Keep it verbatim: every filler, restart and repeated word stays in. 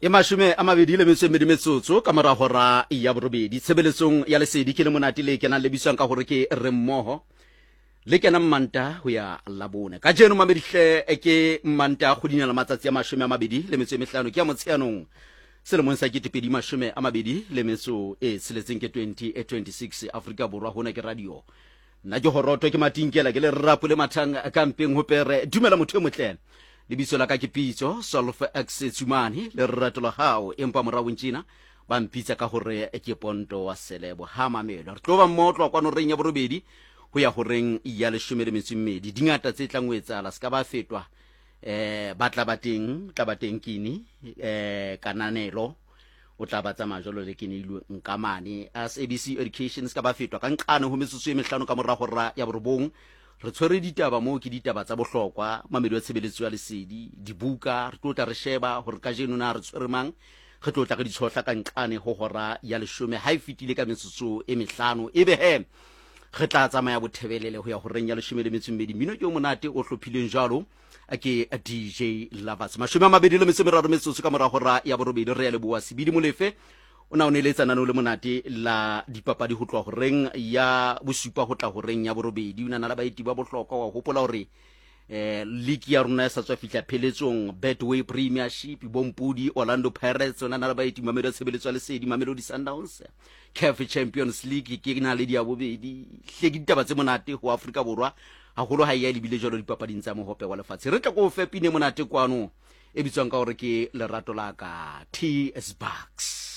E mashome a mabedi le metso e mmedi metsotso ka mora hora ya borobedi. Tshebeletsong ya Lesedi ke le monate le kenang le bitswang ka hore ke Re Mmoho, le kenang Manta ho ya Labone. Kajeno mamedihle ke Manta kgweding ya matsatsi a mashome a mabedi le metso e mehlano, ke ya Motsheanong selemong sa ketepedi mashome a mabedi le metso e tsheletseng, ke twenty twenty-six. Afrika Borwa, hona ke radio. Nna ke horoto ke matinkela ke le rapo le mathang ka mpeng ho pere. Dumela motho e motle, lebitso la ka ke Pitso Solf X Tsumane, lerato la hao, empa moraong tjena ba mpitsa ka hore ke Ponto wa Selebo. Ha mamelo re tlo ba mmoho tloha kwano reng ya borobedi ho ya horeng ya leshome le metso e mmedi. Dingata tse tlang ho etsahala, se ka ba fetwa. Eh ba tla ba teng, tla ba teng kini eh kananelo o tla ba tsamaya jwalo le ke neilwe nkamane S A B C Education. Se ka ba fetwa ka nqane ho metsotso e mehlano ka mora hora ya borobong, re tshwere ditaba moo, ke ditaba tsa bohlokwa. Mamedi wa tshebeletso ya Lesedi, dibuka re tlo tla re sheba hore kajeno na re tshwere mang, re tlo tla re di tshohla ka nqane ho hora ya leshome ha e fetile ka metsotso e mehlano. Ebe he re tla tsamaya bothebelele ho ya horeng ya leshome le metso e mmedi. Mmino ke o monate o hlophileng jwalo ke D J Lovers. Mashome a mabedi le metso e meraro metsotso ka mora hora ya borobedi. Re ya leboha Sebidi Molefe, o na o neletsa nano le monate la dipapadi ho tloha horeng ya bosupa ho tla horeng ya borobedi. O na na le baeti ba bohlokwa. Wa hopola hore eh league ya rona e sa tswa fihla pheletsong, Betway Premiership, Bompudi Orlando Pirates, o na na le baeti. Mamelodi, tshebeletso ya Lesedi, Mamelodi Sundowns, CAF Champions League ke na le diabobedi hle. Ke ditaba tse monate ho Afrika Borwa haholo ha e ya lebile jwalo dipapading tsa Mohope wa Lefatshe. Re tla ko fe pine monate kwano e bitswang ka hore ke Lerato la Ka, T S Bucks.